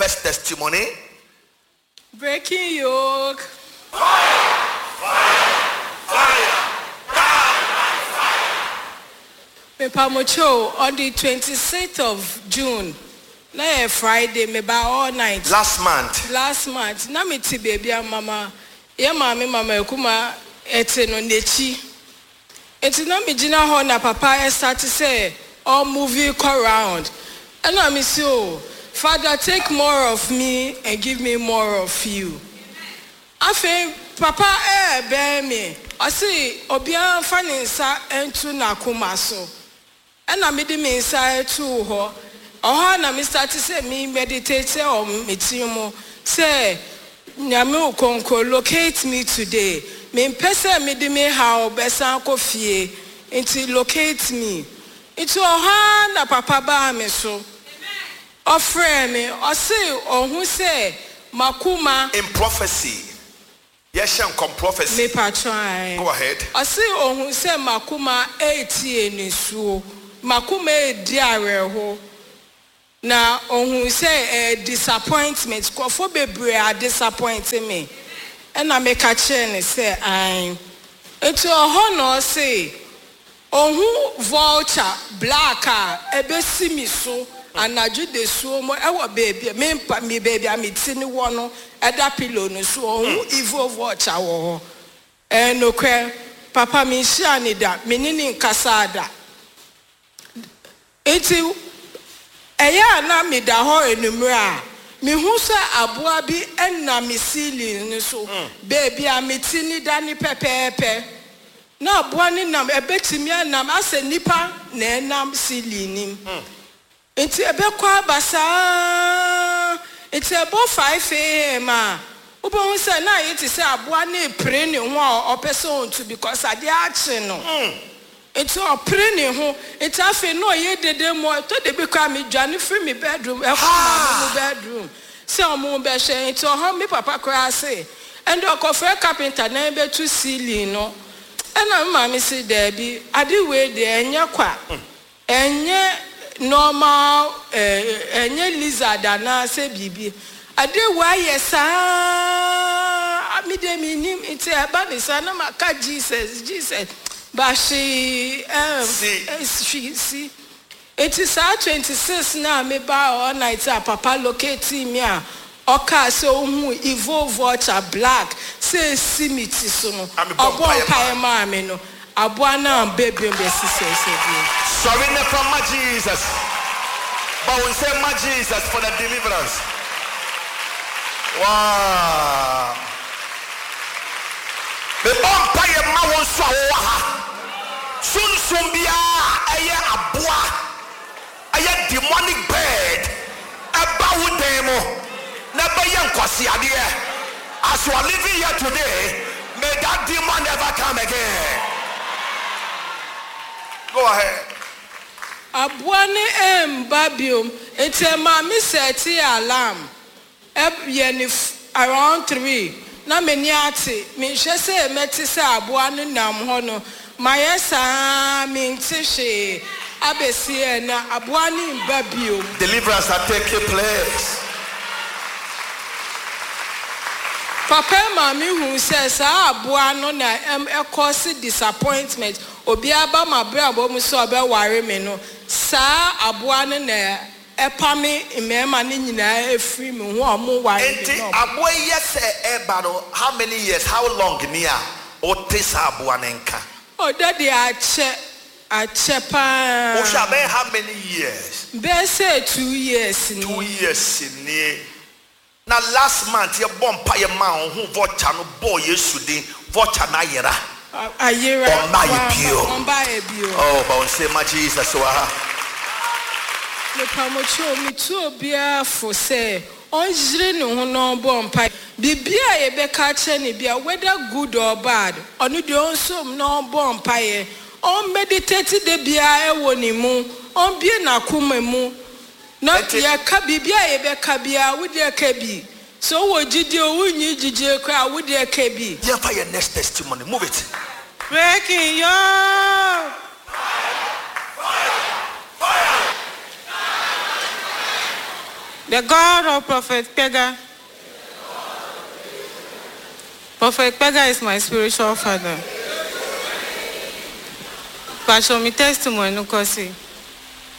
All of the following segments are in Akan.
First testimony. Breaking yoke. Mepamokyɛw, on the 26th of June, na yɛ Friday, meba all night. Last month. Last month, na mete baabi a mama, yɛ maame Mama Akuma te no n'akyi. Nti na megyina hɔ na papa starte sɛ ɔmove kɔ round. Ɛna mese oh, Father take more of me and give me more of you. Afei papa ɛɛbɛn me, ɔse obiara mfa ne nsa nto n'akoma so. Ɛna mede me nsa too hɔ. Ɔhɔ a na me starte sɛ me meditate wɔ me tiri mu sɛ Nyame Okonkwo locate me today. Mempɛ sɛ mede me haw bɛsan akɔ fie nti locate me. Nti ɔhɔ ara na papa baa me so. Ɔfrɛɛ me, ɔse ɔhu sɛ m'akoma. In prophecy, yɛhyɛ nkɔm prophecy. Mepakyɛw ae. Go ahead. Ɔse ohu sɛ m'akoma retie nisuo, m'akoma redi awerɛho, na ohuu sɛ ɛyɛ disappointment, nkurɔfoɔ bebree a disappoint me, ɛna meka kyerɛɛ no sɛ ae. Nti ɔhɔ na ɔse ohu vulture black a ɛbɛsi me so anadwo dasuo mu ɛwɔ baabi a me mpa, me baabi a me ti no wɔ no ɛda pillow no so, ohu evil vulture wɔ hɔ. Ɛyɛ nokorɛ, papa menhyiaa no da, me ne no nkasaa da. Enti ɛyɛ a na meda hɔ anwummerɛ a, mehu sɛ aboa bi nam me ceiling no so, baabi a me ti no da no pɛpɛɛpɛ. Na aboa no nam, ɛbɛtumi anam asɛ nipa na ɛnam ceiling no mu. Enti ɛbɛkɔ aba saa ara. Enti ɛbɔ 5 AM a, wobɛhu sɛ na ayɛ te sɛ aboa no repere ne ho a ɔpɛ sɛ ɔntu because adeɛ akye no. Enti ɔpere ne ho. Enti afei na ɔyɛ dede mmɔ. Ɛtɔ da bi koraa medwane firi me bedroom kɔ maame mo bedroom sɛ ɔmo bɛhwɛ. Enti ɔhɔ me papa koraa se ɛnde ɔkɔfrɛ carpenter na yɛbɛtu ceiling no. Ɛna me maame se daabi, ade wei deɛ ɛnyɛ kwa. Ɛnyɛ normal eh, ɛnyɛ lizard anaa sɛ biribi. Adeɛ wei ayɛ saa me deɛ mennim nti ɛba ne saa na maka Jesus, Jesus but hwee Si. ɛn hwee si. Nti saa 26 no a mebaa all night a papa locatee me a ɔkaa sɛ ohuu evil vulture black sɛ esi me ti so no, Na mebɔɔ ɔbɔɔ mpaeɛ mpaeɛ maa. maa me no, aboa no amba biom bɛsi sɛsɛ bio. Sɔre na fa ma Jesus. Bɔ wo nsam ma Jesus for the deliverance. Wow. Mebɔ mpaeɛ ma wo nso a wowɔ ha. Sunsum biara a ɛyɛ aboa, ɛyɛ demonic bird, ɛba wo dan mu na ɛbɛyɛ nkwaseadeɛ. As you are living here today, may that demon never come again. Go ahead. Aboa no ɛmba biom nti ɛmaa me sɛtee alarm yɛ no around 3 na m'ani ate menhwɛ sɛ mɛte sɛ aboa no nam hɔ no mayɛ saa mente hwee abɛsi ɛnɛ aboa no mba biom. Deliverance are taking place. Papa ma me hu sɛ saa aboa no na ɛkɔse disappointment obiara ba m'abrabɔ mu sɛ ɔbɛware me no saa aboa no na ɛpame mmarima no nyinaa efiri me ho a ɔmo ware me Enti no. aboa yi yɛ sɛ ɛba no how many years, how long ni a wote saa aboa no nka? Ɔda de akyɛ akyɛ paa. Wohwɛ a bɛyɛ how many years? Bɛyɛ sɛ 2 years ni. 2 years nie. Na last month yɛbɔ mpaeɛ maa wo ho vulture no bɔɔ Yesu din, vulture no ayera. Ayera. Ɔmba yɛ bio. Ɔmba yɛ bio. Oh, bɔ wo nsam ma Jesus wɔ ha. Mepamokyɛw, metu obiara fo sɛ ɔnyere ne ho na ɔmbɔ mpae. Biribi a yɛbɛka akyerɛ no bia, whether good or bad, ɔno deɛ ɔnsom na ɔmbɔ mpaeɛ. Ɔmmeditate da biara ɛwɔ ne mu, ɔmbue n'akoma mu. Na Enti yɛka biribi a yɛbɛka biara, wo deɛ ka bi. Sɛ wowɔ gyidie o, wonnyi gyidie koraa, wo deɛ ka bi. Yɛmfa yɛn next testimony. Move it. Breaking yoke. The God of Prophet Kpegah. Prophet Kpegah is my spiritual father. Pacho me testimony no kɔ se.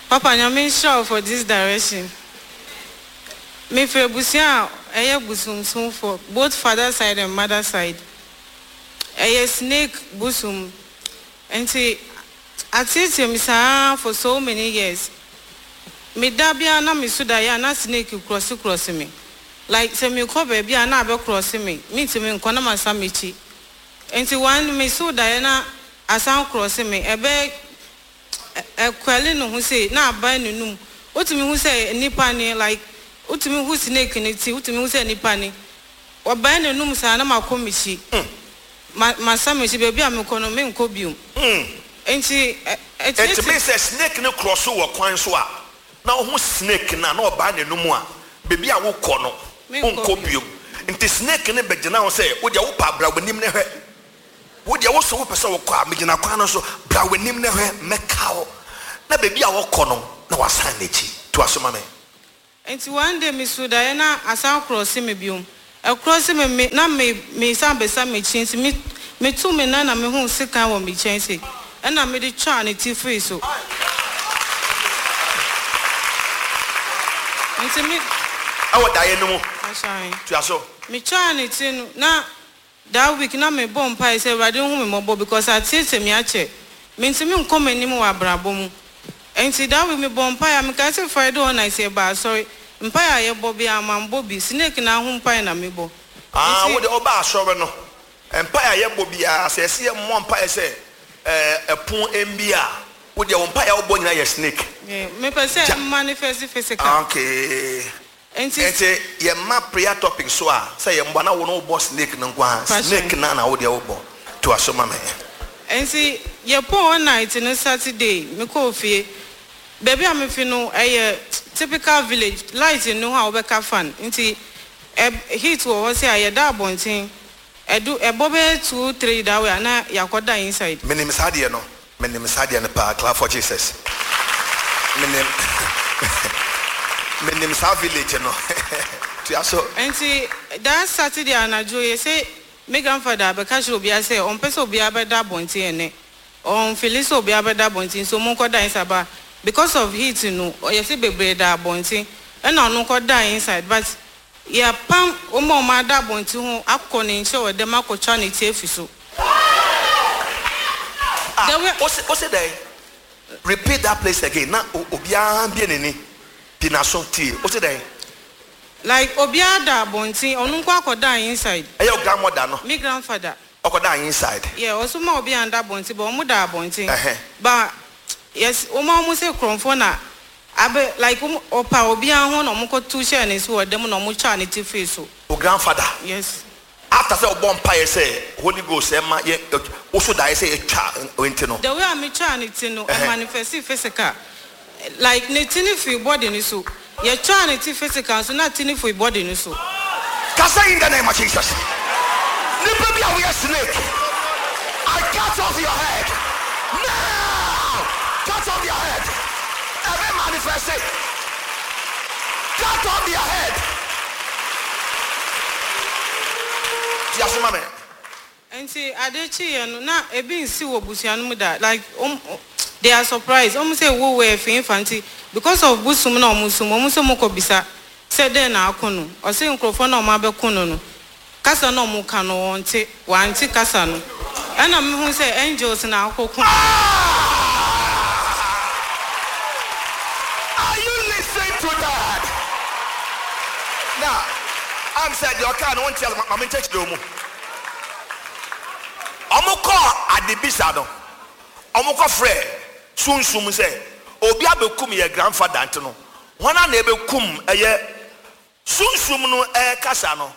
Papa Nyame nhyira wo for this direction. Me firi abusua a ɛyɛ bosomsomfoɔ both father side and mother side. Ɛyɛ snake bosom nti ateetee me saa for so many years. Me da biara na me so daeɛ a na snake krɔse krɔse me. Like sɛ mekɔ baabi a na abɛ krɔse me, mentumi nkɔ na masan m'akyi. Nti one me so daeɛ na asan krɔse me, ɛbɛ ɛkwɛle ne ho sei na abae n'anum. Wotumi hu sɛ nipa ni like wotumi hu snake no ti, wotumi hu sɛ nipa ni. Ɔbae n'anum saa na makɔ m'akyi. Ma masan m'akyi, baabi a mekɔ no menkɔ biom. Nti ɛ Nti ɛteetee. mean sɛ snake no krɔse wɔ kwan so a na wohu snake no a na ɔbae n'anum a, baabi a wokɔ no Menkɔ wonkɔ biom. biom. Nti snake no bɛgyina hɔ sɛ wodeɛ wopɛ a bra w'anim na hwɛ. Wo deɛ wo se wopɛ sɛ wokɔ a, megyina kwan no so, bra w'anim na hwɛ, mɛka wo. Na baabi a wɔkɔ no, na wasan n'akyi. Toa so ma me. Nti one day me suu daeɛ na asan krɔse me biom. Ɛkrɔse me me na me me san bɛsan m'akyi nti me me tuu me nan na me huu sekan wɔ me kyɛn sei ɛna me de twaa ne ti firii so. Nti me. Ɛwɔ daeɛ no mu. Ahyɛn. Toa so. Me twaa ne ti no na That week na me bɔ mpaeɛ sɛ Awurade nhu me mmɔbɔ because ateetee me akyɛ. Mentumi nkɔ m'anim wɔ abrabɔ mu. Ɛnti that week me bɔɔ mpaeɛ a mekae sɛ Friday all night yɛba asɔre, mpaeɛ a yɛbɔ biara mambɔ bi, snake no ara ho mpaeɛ na mebɔ. Ah, Nti. wo deɛ wobaa asɔre no, mpaeɛ a yɛbɔ biara, sɛ yɛse yɛmmɔ mpaeɛ sɛ ɛɛ ɛpon mmue a, wo deɛ wo mpaeɛ a wobɔ nyinaa yɛ snake. Yeah, mepɛ sɛ Gya. manifest physical. Okay. Nti. Nti yɛ ma prayer topic so a sɛ yɛ mbɔ na wo no wo bɔ snake no nko ara snake Passion. no na wo deɛ wo bɔ toa so ma me. Nti yɛ pɔn all night no Saturday me kɔɔ fie baabi a me fi no ɛyɛ typical village light nni hɔ a wo bɛka fan nti ɛ heat wɔ hɔ sɛ a yɛ da abɔnten ɛdu ɛbɔ bɛyɛ two three that way a na yɛ akɔ da inside. Menim saa deɛ no menim saa deɛ no paa clap for Jesus menim menim saa village no toa so. Nti that Saturday anadwo yɛ sɛ me grandfather abɛka kyerɛ obiara sɛ ɔmpɛ sɛ obiara bɛda abɔnten ɛnɛ ɔnfili sɛ obiara bɛda abɔnten nti ɔmo nkɔda inside but because of heat no yɛ sɛ bebree da abɔnten ɛna ɔno kɔda inside but yɛapam wɔn a wɔn ada abɔnten ho akɔ ne nkyɛn wɔ dɛm akɔtwa ne ti afi so. Ah, The way. ose ose dɛn? Repeat that place again na obiara bue n'ani pii n'aso tie. Ose dɛn? Like obiara da abɔnten ɔno nko akɔda inside. Ɛyɛ wo grandmother no? Me grandfather. Ɔkɔdaa inside? Yeah, ɔso ma obiara nda abɔnten but ɔmo da abɔnten. Ɛhɛn. But yes, wɔn a wɔn sɛ kurɔmfoɔ na abɛ like wɔn ɔpa obiara ho na wɔn kɔ tu hyɛɛ ne so wɔ dɛm na wɔn twaa ne ti firi so. Wo grandfather? Yes. After sɛ ɔbɔ mpaeɛ sɛ Holy Ghost ɛma yɛ woso daeɛ sɛ yɛtwa nti no. The way a me twaa ne ti no, Ɛhɛn. ɛmanifesti physical. Like ne ti no firi body no so. Yɛtwaa ne ti physical nso na ti no firi body no so. Ka sɛ in the name of Jesus. Nipa bi a woyɛ snake, I cut off your head now! Cut off their head. Ɛbɛ manifesti. Cut off their head. Ti aso ma me. Nti ade kyeeɛ no na ebi nsi wɔ busua no mu da like they are surprised ɔmo sɛ wo wɔ ɛfin fa nti because of busum na ɔmo sum ɔmo sɛ ɔmo kɔ bisa sɛ dɛn na ako no ɔsɛ nkurɔfoɔ na ɔmo abɛko no no kasa na ɔmo ka no wɔnte wante kasa no ɛna mehu sɛ angels na akɔko. Ah! Are you listening to that? Now, I'm said your car no one tell ma me nkyɛkyerɛ mu. Ɔmo kɔ adebisa no, ɔmo kɔ frɛ sunsum sɛ obi abɛkum yɛ grandfather nti no, wɔn a na ɛbɛkum ɛyɛ sunsum no ɛkasa no,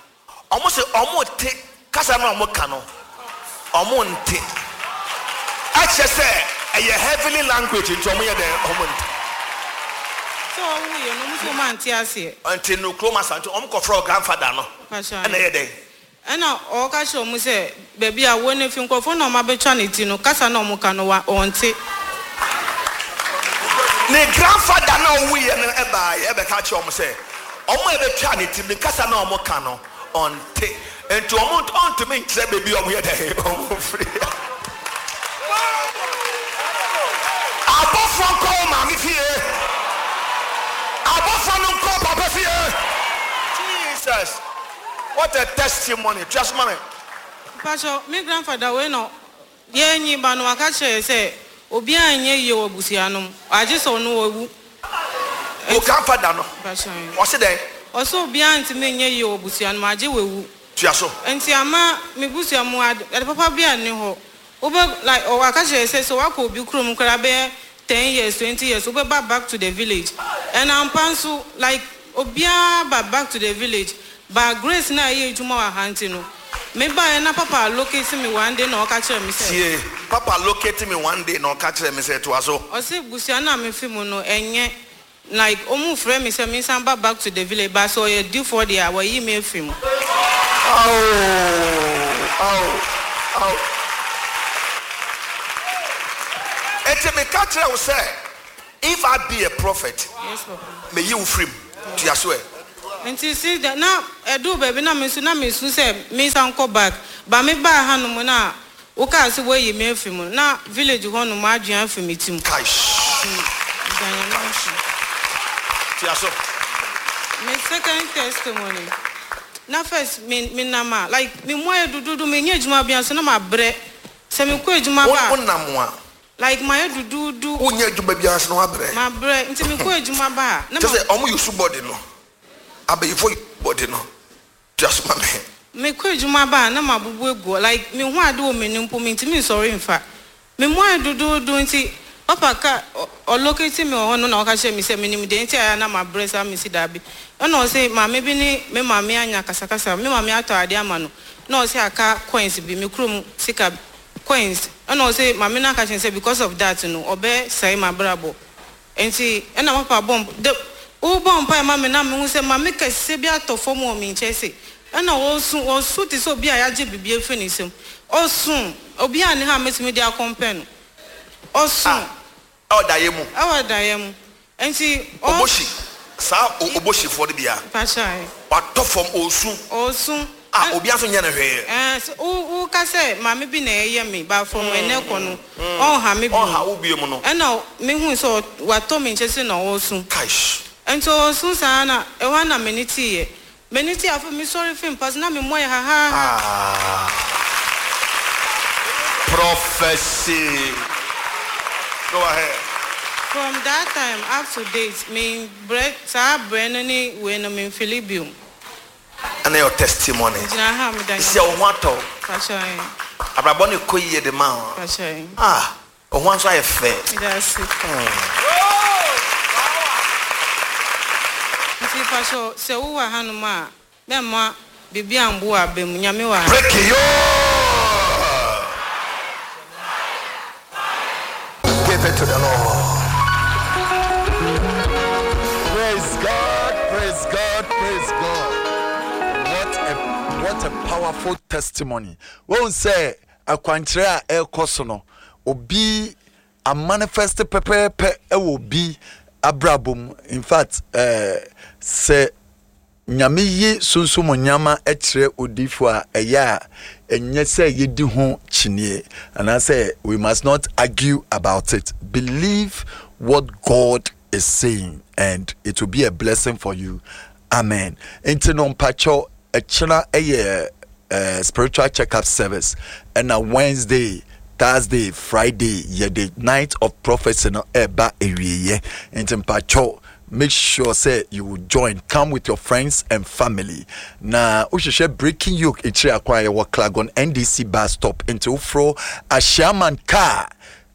ɔmo sɛ ɔmo te kasa no a ɔmo ka no, ɔmo nte. Ɛkyɛ sɛ ɛyɛ heavenly language nti ɔmo yɛ dɛ ɔmo nte. Sɛ ɔwo yɛ no ɔmo sɛ ɔmo ante aseɛ. Nti no kurom asa nti ɔmo kɔ frɛ grandfather no. Pastor. Ɛna ɛyɛ dɛ. Ɛna ɔka kyerɛ ɔmo sɛ baabi a wɔn efi nkurɔfoɔ na ɔmo abɛtwa ne ti no kasa na ɔmo ka no wa ɔnte. Ne grandfather na ɔwu yɛ no ɛbaa yɛ ɛbɛka kyerɛ ɔmo sɛ Wɔn a ɛbɛtwaa ne tirim no, kasa no a wɔka no, ɔnte. Enti wɔn, ɔntumi nkyerɛ baabi a wɔyɛ dɛn, wɔfiri. Abɔfoɔ nkɔ wo maame fie. Abɔfoɔ no nkɔ wo papa fie. Jesus, what a testimony. Tua so ma me. Mpakyɛw, me grandfather wei na Yɛn nyi ba no waka kyerɛ yɛ sɛ obiara nyɛ yie wɔ abusua no mu agye sɛ ɔno wawu. Wo grandfather no ɔse dɛn? Ɔse obiara ntumi nyɛ yie wɔ abusua no mu agye wawu. Tua so. Nti ama me busua mu ade papa biara nni hɔ. Wobɛ like waka kyerɛ yɛ sɛ sɛ wakɔ obi kurom koraa bɛyɛ 10 years 20 years wobɛba back to the village and ampa nso like obiara ba back to the village but grace no a ɛyɛ adwuma wɔ ha nti no Me baeɛ na papa locate me one day na ɔka kyerɛɛ me sɛ. Tie, papa locate me one day na ɔka kyerɛɛ me sɛ, toa so. Ɔse busua no a me fi mu no ɛnyɛ, like ɔmu frɛ me sɛ me nsan ba back to the village but sɛ ɔyɛ difoɔ deɛ a wayi me afiri mu. Ao, ao, ao. Enti meka kyerɛ wo sɛ, if I be a prophet, Yes papa. meyi wo firi mu. Toa so ɛ. Nti since then na ɛduu baabi na me nso na me su sɛ me nsan kɔ back but me baa ha nom na wo kaa sɛ woayi me afiri mu no na village hɔ nom adwene afi me ti mu. Kaish. Nti meda Nyame Kaish. ase. Toa so. Me second testimony na first me me nam a like me mu ayɛ duduudu me nyɛ adwuma bia nso na ma brɛ sɛ me kɔ adwuma Wo ba a. wo nam a. Like mayɛ duduudu. Wonyɛ adwuma biara nso na wabrɛ. Mabrɛ nti mekɔ adwuma ba a na Kyerɛ ma. sɛ ɔmo use body no. Abayifo use body no. Tua so ma me. Mekɔ adwuma ba a na mabubu agu hɔ like mehu ade wɔ m'anim mpo mentumi nsɔre mfa. Me mu ayɛ duduudu nti papa ka ɔ locate me wɔ hɔ no na ɔka kyerɛ me sɛ menim deɛ nti a ɛyɛ a na mabrɛ saa mesi daabi. Ɛna ɔse maame bi ne me maame anya akasakasa me maame atɔ adeɛ ama no na ɔse aka coins bi me kurom sika coins ɛna ɔse maame no aka kyerɛ no sɛ because of that no ɔbɛ sɛe mabrabɔ nti ɛna papa bɔ mp de wo bɔ mpae ma me na mehu sɛ maame kɛseɛ bi atɔ fam wɔ me nkyɛn se ɛna ɔsu ɔsu te sɛ obi a yagye biribi afiri ne nsam ɔsu obi a ne ha a mɛtumi de akɔmpɛ no ɔsu. Ah ɛwɔ daeɛ mu. Ɛwɔ daeɛ mu nti ɔ. Oboshi saa oboshifoɔ no bi a. Mpakyɛw. Watɔ fam ɔresu. Ɔresu. A obiara nso nyɛ no hwee. Ɛɛ sɛ wo wo ka sɛ maame bi na ɛyɛ me but from ɛnɛ kɔ no ɔnha me bio. Ɔnha wo bio mu no. Ɛna me hui sɛ watɔ me nkyɛn sɛ na ɔresu. Kaish. Nti ɔresu saa na ɛhɔ ara na m'ani teeɛ. M'ani tee afei me sɔre firi mpa so na me mu ayɛ hahaha. Ah. Prophecy. Go ahead. From that time up to date me brɛ saa brɛ no ne wei no me nfili bio. Ɛna your testimony. Megyina ha a meda Sisi a Nyame wo ho atɔ wo. Pakyɛ ɛn. Abrabɔ no kɔ yie de ma wo. Pakyɛ ɛn. Ah, wo ho nso ayɛ fɛ. Meda ase. Nti pakyɛ sɛ wo wɔ ha nom a mɛmma biribi ambu w'aba mu. Nyame wɔ ha. Break yo! Give it to the Lord. Praise God, praise God, praise God. What a what a powerful testimony. Wɔn sɛ akwankyerɛ a ɛrekɔ so no, obi amanifest pɛpɛɛpɛ ɛwɔ obi abrabɔ mu. In fact, ɛɛ eh, sɛ Nyame yi sunsum nneɛma kyerɛ odiyifo a, ɛyɛ a ɛnyɛ sɛ yedi ho kyiniɛ anaasɛ we must not argue about it. Believe what God is saying and it will be a blessing for you. Amen. Nti no mpakyɛw ɛkyena ɛyɛ uh, spiritual checkup service ɛna Wednesday Thursday Friday yɛde night of prophecy no ɛba awieɛ nti mpakyɛw make sure sɛ you will join come with your friends and family na wohwehwɛ breaking yoke akyiri akwan yɛwɔ clagon ndc bus stop nti woforo ahyiaman car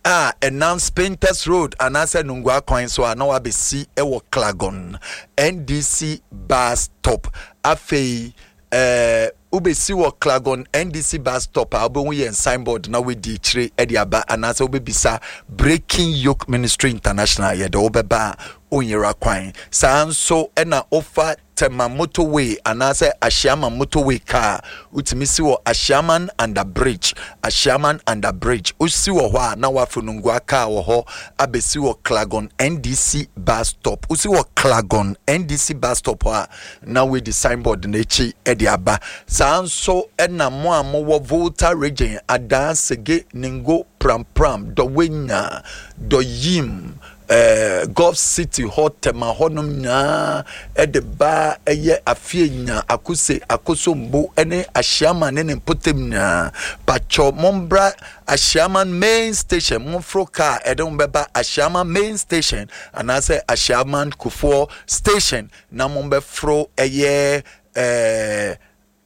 a ɛnam spintex road anaasɛ nungua kwan so a na wabɛsi wɔ clagon ndc bus stop afei Ɛɛ wobɛsi wɔ Clagon NDC bus stop a wobɛhu yɛn signboard na woadi akyire de aba anaasɛ wobɛbisa Breaking Yoke Ministry International yɛde wobɛba a wonyera kwan. Saa nso na wofa Tema motorway anaasɛ Ashiaman motorway kaa a, wotumi si wɔ Ashiaman under bridge, Ashiaman under bridge. Wosi wɔ hɔ a na woaforo Nungua kaa wɔ hɔ abɛsi wɔ Klagon NDC bus stop. Wosi wɔ Klagon NDC bus stop hɔ a na woadi signboard no akyi de aba. Saa nso na mo a mowɔ Volta region, Adaa, Sege, Ningo, Prampram, Dɔwenya, Dɔyim, eh, Gulf City hɔ, Tema hɔnom nyinaa de ba ɛyɛ Afienya, Akuse, Akosombo ne Ahyiaman ne ne mpɔtam nyinaa. Pakyɛ mombra Ahyiaman main station, momforo kaa ɛde mo bɛba Ahyiaman main station anaasɛ Ahyiaman Kufuor station na mombɛforo ɛyɛ eh,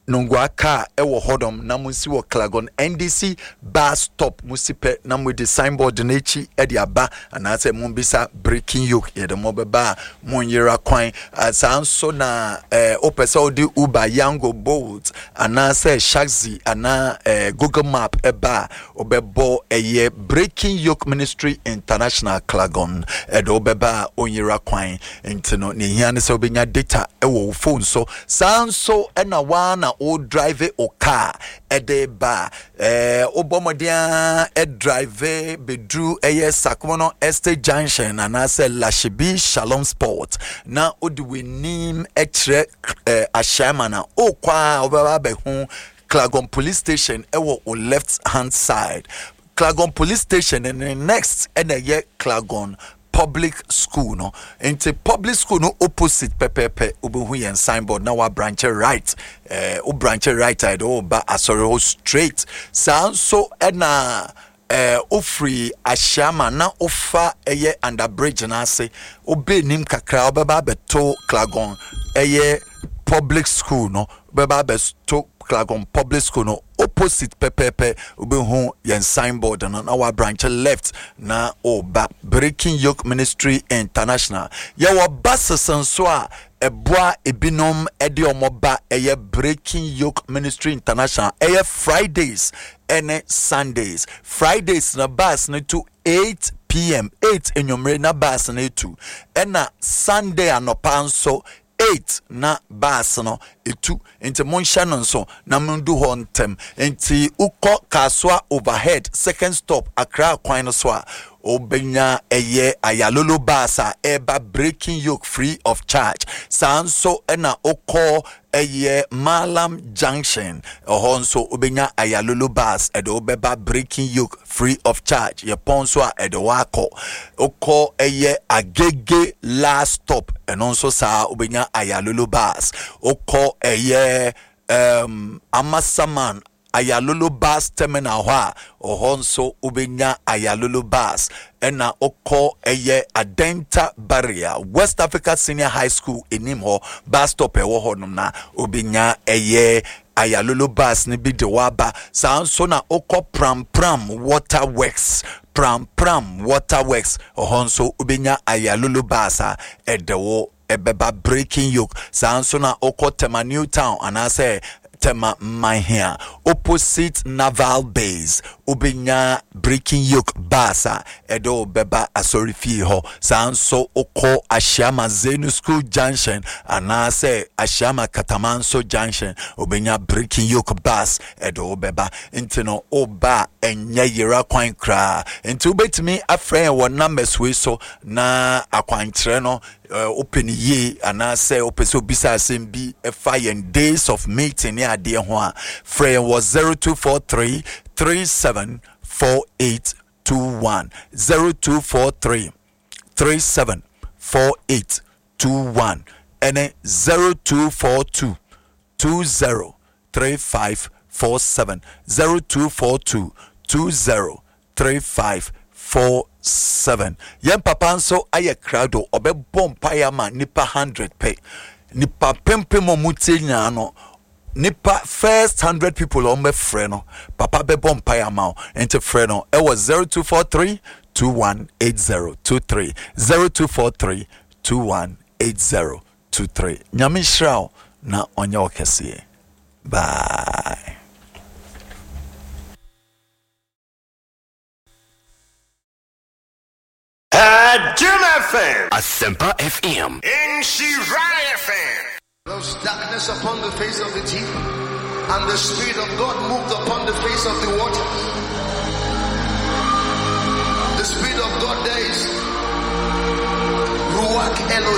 Nungua car wɔ hɔnom na monsi wɔ Clagon NDC bus stop mosi pɛ na moadi signboard no akyi de aba anaasɛ mombisa Breaking Yoke yɛde mo bɛba a monyera kwan. Saa nso na wopɛ sɛ wode Uber, Yango, Bolt anaasɛ Shaxi anaa Google Map ɛba a wobɛbɔ ɛyɛ Breaking Yoke Ministry International Clagon ɛde wobɛba a onyera kwan. Nti no nea ehia ne sɛ wobɛnya data wɔ wo phone so. Saa nso na woa na wo drive wo car de ba a, eh, wobɔ mmɔden ara drive bɛduru ɛyɛ Sakomono Estate Junction anaasɛ Lashibi Shalom Sport na wode w'anim kyerɛ eh, Ashaiman a, wokɔ a wobɛba abɛhu Clagon Police Station ɛwɔ wo left hand side. Clagon Police Station ne next ɛna ɛyɛ Clagon Public school no nti public school no opposite pɛpɛɛpɛ wobɛhu yɛn signboard na wabranche right eh, wo branche right a yɛde wo ba asɔre hɔ straight. Saa nso ɛna eh, wofiri Ahyiama na wofa ɛyɛ under bridge no ase wobɛ anim kakra wobɛba abɛto Clagon ɛyɛ public school no, wobɛba abɛto Clagon public school no opposite pɛpɛɛpɛ wobɛhu yɛn signboard no na wabranche left na woba Breaking Yoke Ministry International. Yɛwɔ buses nso a ɛboa ebinom de wɔn ba ɛyɛ Breaking Yoke Ministry International ɛyɛ Fridays ɛne Sundays. Fridays na bus no to 8 pm 8 anwummere na bus no etu, ɛna Sunday anɔpa nso 8 na bus no etu. Nti monhyɛ no nso na mondu hɔ ntɛm. Nti wokɔ Kasoa overhead second stop Accra kwan no so a, wobɛnya ɛyɛ Ayalolo bus a ɛreba Breaking Yoke free of charge. Saa nso na wokɔ ɛyɛ Mallam Junction, ɛhɔ nso wobɛnya Ayalolo bus ɛde wobɛba Breaking Yoke free of charge. Yɛpɔn nso a ɛde wakɔ. Wokɔ ɛyɛ Agege last stop, ɛno nso saa wobɛnya Ayalolo bus. Wokɔ ɛyɛ Amasaman Ayalolo bus terminal hɔ a, ɔhɔ nso wobɛnya Ayalolo bus. Ɛna wokɔ ɛyɛ Adenta Barrier West Africa Senior High School anim hɔ bus stop ɛwɔ hɔ nom na wobɛnya ɛyɛ Ayalolo bus no bi de waba. Saa nso na wokɔ Pram Pram Water Works, Pram Pram Water Works, ɛhɔ nso wobɛnya Ayalolo bus a ɛde wo ɛbɛba Breaking Yoke. Saa nso na wokɔ Tema New Town anaasɛ Tema Manhia opposite Naval Base, wobɛnya Breaking Yoke bus a ɛde wo bɛba asɔrefie hɔ. Saa nso wokɔ Ahyiama Zenu School Junction anaasɛ Ahyiama Katamanso Junction, wobɛnya Breaking Yoke bus ɛde wo bɛba. Nti no woba a ɛnyɛ yera kwan koraa. Nti wobɛtumi afrɛ yɛn wɔ numbers wei so na akwankyerɛ no wopɛ no yie anaasɛ wopɛ sɛ obisa asɛm bi ɛfa yɛn days of meeting ne adeɛ ho a, frɛ yɛn wɔ 0243 374821, 0243 374821 ɛne 0242 203547, 0242 203547. Yɛn papa nso ayɛ krado, ɔbɛbɔ mpaeɛ ama nipa 100 pɛ. Nipa pempem a wɔtie nyinaa no, nipa first 100 people a wɔbɛfrɛ no, papa bɛbɔ mpaeɛ ama wo. Nti frɛ no ɛwɔ 0243 218023, 0243 218023. Nyame nhyira wo na ɔnyɛ wo kɛseɛ. Bye. Jim FM. Asempa FM. Nhyira FM. There was darkness upon the face of the deep, and the Spirit of God moved upon the face of the waters. The Spirit of God there is Ruach Elohim.